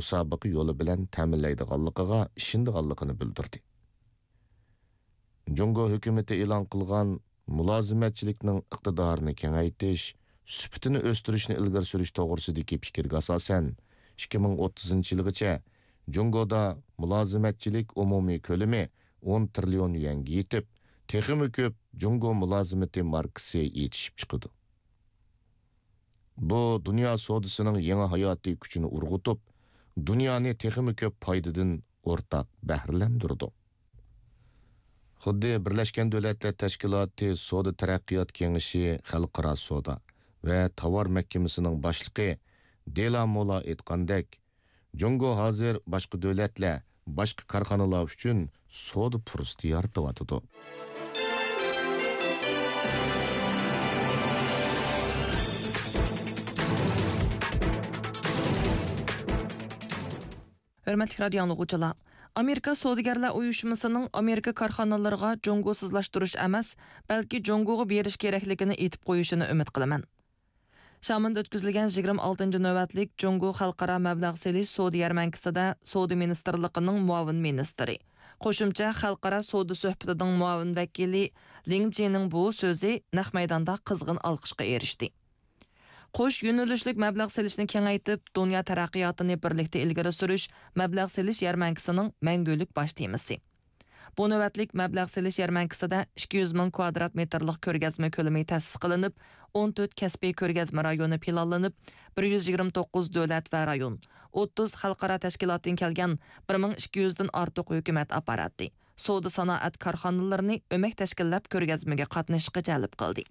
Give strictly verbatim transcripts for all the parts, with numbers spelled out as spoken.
مۇسابىقە يولى بىلەن تەمىنلەيدىغانلىقىغا ئىشىنىدىغانلىقىنى بىلدۈردى. جۇڭگو ھۆكۈمىتى ئېلان قىلغان مۇلازىمەتچىلىكنىڭ ئىقتىدارىنى كېڭەيتىش، سۈپىتىنى ئۆستۈرۈشنى ئىلگىرى سۈرۈش توغرىسىدىكى پىكىرگە ئاساسەن، ئىككى مىڭ ئوتتۇزىنچى يىلغىچە جۇڭگودا مۇلازىمەتچىلىك ئومۇمىي كۆلىمى ئون تىرىليون يۈەنگە يېتىپ، تېخىمۇ كۆپ جۇڭگو مۇلازىمىتى ماركىسى يېتىشىپ چىقىدۇ. بۇ دۇنيا سودىسىنىڭ يېڭى ھاياتىي كۈچىنى ئۇرغۇتۇپ، دۇنيانى تېخىمۇ كۆپ پايدىدىن ئورتاق بەھرىلەندۈرىدۇ. خۇددى بىرلەشكەن دۆلەتلەر تەشكىلاتى سودا تەرەققىيات كېڭىشى خەلقئارا سودا ۋە تاۋار مەھكىمىسىنىڭ باشلىقى دېلا مولا ئېيتقاندەك، جۇڭگو ھازىر باشقا دۆلەتلەر، باشقا كارخانىلار ئۈچۈن سودا پۇرسىتى يارىتىۋاتىدۇ. ھۆرمەتلىك رادىيو ئاڭلىغۇچىلار، ئامېرىكا سودىگەرلەر ئۇيۇشمىسىنىڭ ئامېرىكا كارخانىلىرىغا جۇڭگوسىزلاشتۇرۇش ئەمەس، بەلكى جۇڭگوغا بېرىش كېرەكلىكىنى ئېيتىپ قويۇشىنى ئۈمىد قىلىمەن. شامېندا ئۆتكۈزۈلگەن يىگىرمە ئالتىنچى نۆۋەتلىك جۇڭگو خەلقئارا مەبلەغ سېلىش سودا يەرمەنكىسىدە سودا مىنىستىرلىقىنىڭ مۇئاۋىن مىنىستىرى، قوشۇمچە خەلقئارا سودا سۆھبىتىنىڭ مۇئاۋىن ۋەكىلى لىڭ جىنىڭ بۇ سۆزى نەق مەيداندا قىزغىن ئالقىشقا ئېرىشتى. قوش يۆنىلىشلىك مەبلەغ سېلىشنى كېڭەيتىپ، دۇنيا تەرەققىياتىنى بىرلىكتە ئىلگىرى سۈرۈش مەبلەغ سېلىش يەرمەنكىسىنىڭ مەڭگۈلۈك باش تېمىسى. بۇ نۆۋەتلىك مەبلەغ سېلىش يەرمەنكىسىدە ئىككى يۈز مىڭ كۋادرات مېتىرلىق كۆرگەزمە كۆلىمى تەسىس قىلىنىپ، ئون تۆت كەسپىي كۆرگەزمە رايونى پىلانلىنىپ، بىر يۈز يىگىرمە توققۇز دۆلەت ۋە رايون، ئوتتۇز خەلقئارا تەشكىلاتتىن كەلگەن بىر مىڭ ئىككى يۈزدىن ئارتۇق ھۆكۈمەت ئاپپاراتى، سودا سانائەت كارخانىلىرىنى ئۆمەك تەشكىللەپ كۆرگەزمىگە قاتنىشىشقا جەلپ قىلدى.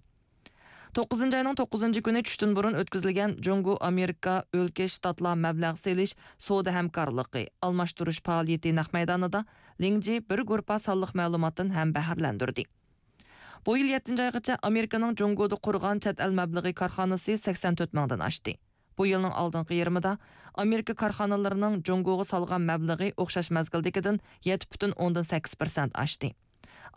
توققۇزىنچى ئاينىڭ توققۇزىنچى كۈنى چۈشتىن بۇرۇن ئۆتكۈزۈلگەن جۇڭگو ئامېرىكا ئۆلكە شتاتلار مەبلەغ سېلىش سودا ھەمكارلىقى ئالماشتۇرۇش پائالىيىتى نەق مەيدانىدا لىڭ جى بىر گۇرۇپپا سانلىق مەلۇماتتىن ھەم بەھرىلەندۈردى. بۇ يىل يەتتىنچى ئايغىچە ئامېرىكىنىڭ جۇڭگودا قۇرغان چەت ئەل مەبلىغى كارخانىسى سەكسەن تۆت مىڭدىن ئاشتى. بۇ يىلنىڭ ئالدىنقى يېرىمىدا ئامېرىكا كارخانىلىرىنىڭ جۇڭگوغا سالغان مەبلىغى ئوخشاش مەزگىلدىكىدىن يەتتە پۈتۈن ئوندىن سەككىز پىرسەنت ئاشتى.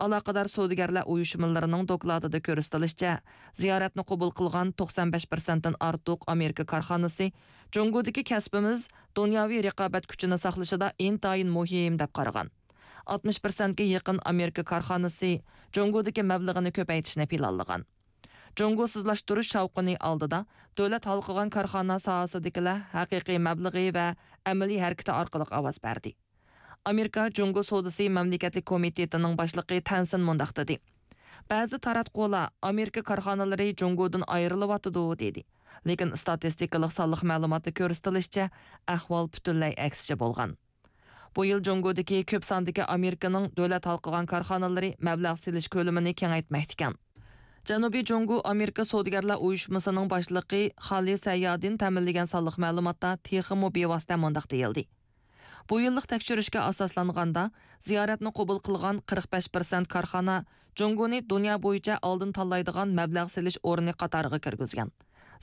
ئالاقىدار سودىگەرلەر ئۇيۇشمىلىرىنىڭ دوكلاتىدا كۆرسىتىلىشىچە، زىيارەتنى قوبۇل قىلغان توقسان بەش پىرسەنتتىن ئارتۇق ئامېرىكا كارخانىسى جۇڭگودىكى كەسپىمىز دۇنياۋى رىقابەت كۈچىنى ساقلىشىدا ئىنتايىن مۇھىم دەپ قارىغان. ئاتمىش پىرسەنتكە يېقىن ئامېرىكا كارخانىسى جۇڭگودىكى مەبلىغىنى كۆپەيتىشنى پىلانلىغان. جۇڭگوسىزلاشتۇرۇش شاۋقۇنى ئالدىدا دۆلەت ھالقىغان كارخانا ساھەسىدىكىلەر ھەقىقىي مەبلىغى ۋە ئەمەلىي ھەرىكىتى ئارقىلىق ئاۋاز بەردى. ئامېرىكا جۇڭگو سودىسى مەملىكەتلىك كومىتېتىنىڭ باشلىقى تەنسىن مۇنداق دېدى: بەزى تاراتقۇلار ئامېرىكا كارخانىلىرى جۇڭگودىن ئايرىلىۋاتىدۇ دېدى. لېكىن ئىستاتىستىكىلىق سانلىق مەلۇماتتا كۆرسىتىلىشىچە، ئەھۋال پۈتۈنلەي ئەكسىچە بولغان. بۇ يىل جۇڭگودىكى كۆپ ساندىكى ئامېرىكىنىڭ دۆلەت ھالقىغان كارخانىلىرى مەبلەغ سېلىش كۆلىمىنى كېڭەيتمەكتىكەن. جەنۇبىي جۇڭگو ئامېرىكا سودىگەرلەر ئۇيۇشمىسىنىڭ باشلىقى خالى سەييادىن تەمىنلىگەن سانلىق مەلۇماتتا تېخىمۇ بىۋاسىتە مۇنداق دېيىلدى: بۇ يىللىق تەكشۈرۈشكە ئاساسلانغاندا، زىيارەتنى قوبۇل قىلغان قىرىق بەش پىرسەنت كارخانا جۇڭگونى دۇنيا بويىچە ئالدىن تاللايدىغان مەبلەغ سېلىش ئورنى قاتارىغا كىرگۈزگەن.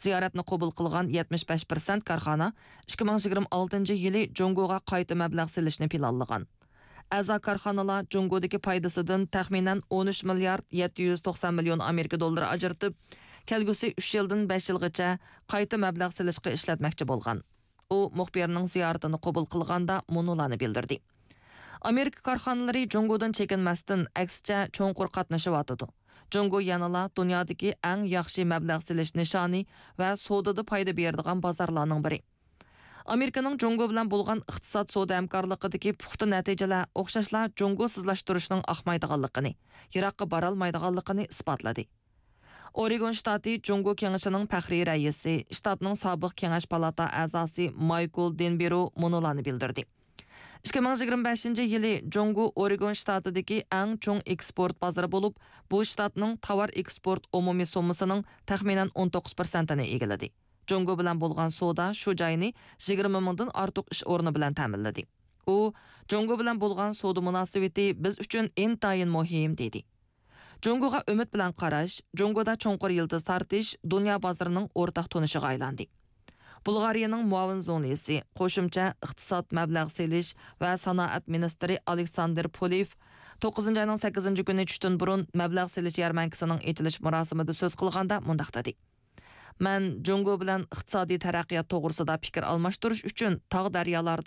زىيارەتنى قوبۇل قىلغان يەتمىش بەش پىرسەنت كارخانا ئىككى مىڭ يىگىرمە ئالتىنچى يىلى جۇڭگوغا قايتا مەبلەغ سېلىشنى پىلانلىغان. ئەزا كارخانىلار جۇڭگودىكى پايدىسىدىن تەخمىنەن ئون ئۈچ مىليارد يەتتە يۈز توقسان مىليون ئامېرىكا دوللىرى ئاجرىتىپ، كەلگۈسى ئۈچ يىلدىن بەش يىلغىچە قايتا مەبلەغ سېلىشقا ئىشلەتمەكچى بولغان. ئۇ مۇخبىرنىڭ زىيارىتىنى قوبۇل قىلغاندا مۇنۇلارنى بىلدۈردى: ئامېرىكا كارخانىلىرى جۇڭگودىن چېكىنمەستىن، ئەكسىچە چوڭقۇر قاتنىشىۋاتىدۇ. جۇڭگو يەنىلا دۇنيادىكى ئەڭ ياخشى مەبلەغ سېلىش نىشانى ۋە سودىدا پايدا بېرىدىغان بازارلارنىڭ بىرى. ئامېرىكىنىڭ جۇڭگو بىلەن بولغان ئىقتىساد سودا ھەمكارلىقىدىكى پۇختا نەتىجىلەر ئوخشاشلا جۇڭگوسىزلاشتۇرۇشنىڭ ئاقمايدىغانلىقىنى، يىراققا بارالمايدىغانلىقىنى ئىسپاتلىدى. ئورېگون شتاتى جۇڭگو كېڭىشىنىڭ پەخرىي رەئىسى، شتاتنىڭ سابىق كېڭەش پالاتا ئەزاسى مايكل دېنبېرو مۇنۇلارنى بىلدۈردى: ئىككى مىڭ يىگىرمە بەشىنچى يىلى جۇڭگو ئورېگون شتاتىدىكى ئەڭ چوڭ ئېكسپورت بازىرى بولۇپ، بۇ شتاتنىڭ تاۋار ئېكسپورت ئومۇمىي سوممىسىنىڭ تەخمىنەن ئون توققۇز پىرسەنتىنى ئىگىلىدى. جۇڭگو بىلەن بولغان سودا شۇ جاينى يىگىرمە مىڭدىن ئارتۇق ئىش ئورنى بىلەن تەمىنلىدى. ئۇ، جۇڭگو بىلەن بولغان سودا مۇناسىۋىتى بىز ئۈچۈن ئىنتايىن مۇھىم، دېدى. جۇڭگوغا ئۈمىد بىلەن قاراش، جۇڭگودا چوڭقۇر يىلتىز تارتىش دۇنيا بازىرىنىڭ ئورتاق تونۇشىغا ئايلاندى. بۇلغارىيەنىڭ مۇئاۋىن زۇڭلىسى، قوشۇمچە ئىقتىساد، مەبلەغ سېلىش ۋە سانائەت مىنىستىرى ئالېكساندىر پولېف توققۇزىنچى ئاينىڭ سەككىزىنچى كۈنى چۈشتىن بۇرۇن مەبلەغ سېلىش يەرمەنكىسىنىڭ ئېچىلىش مۇراسىمىدا سۆز قىلغاندا مۇنداق دېدى: مەن جۇڭگو بىلەن ئىقتىسادىي تەرەققىيات توغرىسىدا پىكىر ئالماشتۇرۇش ئۈچۈن تاغ دەريالاردا